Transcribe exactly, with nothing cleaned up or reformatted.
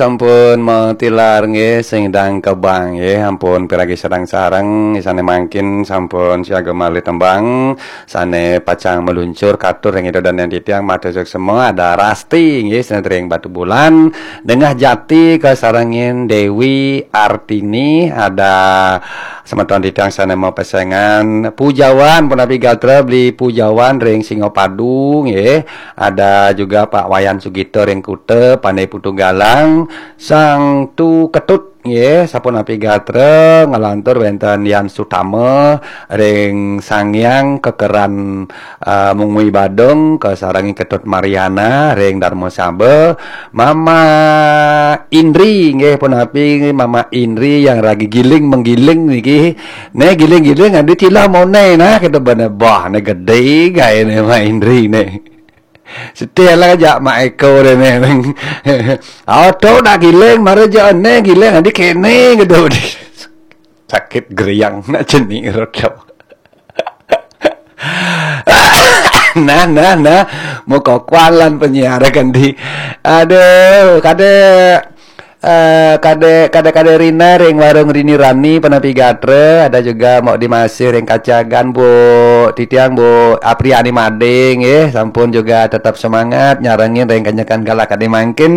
Sampun matilar nggih, sing dang kebang nggih, ampun piragi sareng-sareng, sane mangkin sampun siaga malih tembang, sane pacang meluncur katur ring ida danen titiang, matur suksma, ada Rasti nggih, sane ring Batubulan, Dengah Jati kasarengin Dewi Artini, ada semeton titiang sane mapesengan Pujawan, punapi gatra Beli Pujawan ring Singapadu nggih, ada juga Pak Wayan Sugito ring Kuta, Pandai Putu Galang, Sang Tu Ketut nggih, sapunapi gatra ngalantur wenten Yan Sutama ring Sanghyang Kekeran, eh, Mungwi Badung, kasarengin Ketut Mariana ring Darma Saba, Mama Indri nggih, punapi Mama Indri yang ragi giling menggiling niki. Ne giling-giling adi tilah mone nah, kita bane bah ne gede gae ne Mama Indri ne. Setia lah jak Mak Eko deh ne. Auto nak giling, mara jak ne giling adi kene gitu. Sakit geriang nak jenik rot. Nah, nah, nah. Muka kualan penyiar kan di. Aduh, kada, eh, kada, kada, kada Rina ring warung Rini Rani, punapi gatra, ada juga mau dimasih ring kacagan, Bu Titiang, Bu Apriani Mading, eh, sampun juga tetap semangat nyarengin ring kenyekan galak kadi mangkin.